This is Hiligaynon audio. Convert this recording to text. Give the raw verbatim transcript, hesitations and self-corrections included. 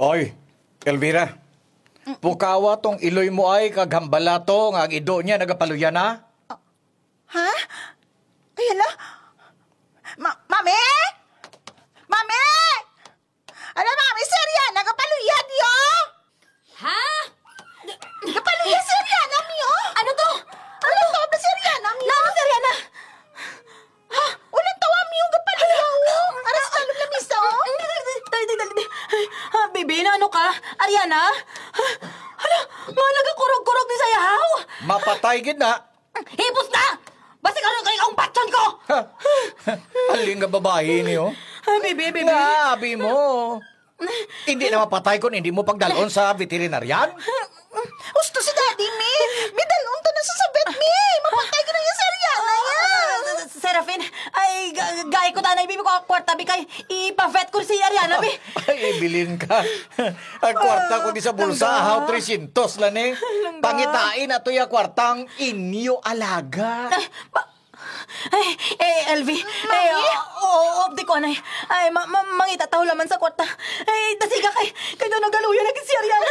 Oy, Elvira. Pukawa tong iloy mo ay kag hambala to nga ang ido niya nagapaluya na. Ha? Ay, hala. Ma-, Mami? Mami! Ala, Mami, si Ariana, gapaluya diyo! Ha? Gapaluya si Ariana, Mi, oh! Ano to? Ano to? Ba si Ariana, Mi? Nano si Ariana? Ha? Ulan tawa, Mi, oh, gapaluya, oh! Aras na, lamisa, oh! Dali, dali, dali, dali. Ay, ah, baby, na ano ka? Ariana? Hala, nga nagakurog-kurog ni sa yahaw? Mapatay gid na. Hipos na! Basi karon kay ang patyon ko! Ha? Aling nga babayi niyo? Ah, baby, baby. Nga abi mo. Hindi na mapatay kung hindi mo pagdalon sa veterinarian? Gusto si Daddy, Mi. Bidalon ta na sa sabit, Mi. Mapatay ka na yung Sariana yan. Ah, Serafin, ay, ga- gay ko tanay, baby, ko kwarta, bi, kay ipa-vet ko si Ariana, bi. Ay, ibilin ka. Ang kwarta ko di sa bulsa, ah, ahaw, tresyentos lang eh. Langga. Pangitain ato ya kwartang inyo alaga. Ay, ba- Ay, eh, Elvie. Mami? Eh, oh, oh, oh, di ko, anay. Ay, ma, ma, mangita taho laman sa kwarta. Ay, dasiga kay, kay daw nagaluya na gid si Ariana.